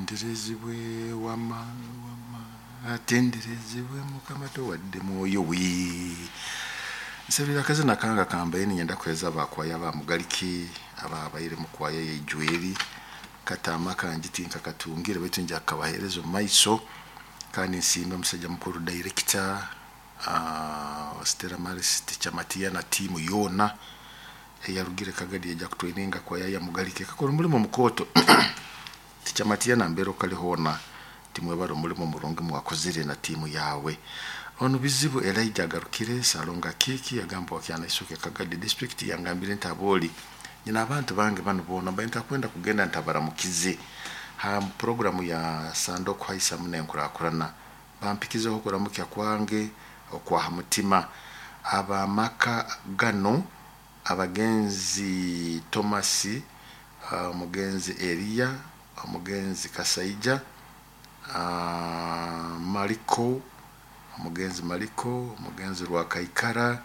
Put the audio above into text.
Atenderezebwe wama wama atenderezebwe Mukama tuwadde mwoyo we. Nsabira akazina kange akambaire ninyenda kuheereza abakwaya ba Mugalike ababaire mu kwaya y'Ijweri kataama kangi tinkakatungire baitu nja kukabaheereza omu maiso kandi nsiime omusaija mukuru director Stella Maris Teacher Matia na tiimu yoona eyarugire Kagadi yaija kutwaininga kwaya ya Mugalike ekakora omulimo mukooto. Teacher Matia nambere okali hoona timwebale omulimo murungi mwakozire na tiimu yawe. Onu Bizibu Elijah agarukire Salonga Kiki yagamba wa Kyanaisuke Kagadi district yangambire nti abooli nyina abantu bange banu boona mbaire ntakwenda kugenda ntabaramukize ha programu ya Sande okuhaisamu n'enkurakurana bampikizeho okuramukya kwange okwa ha mutima. Abamaka gano abagenzi Thomas, omugenzi Eliya, omugenzi Kasaija, Mariko, omugenzi Mariko, omugenzi Rwakaikara,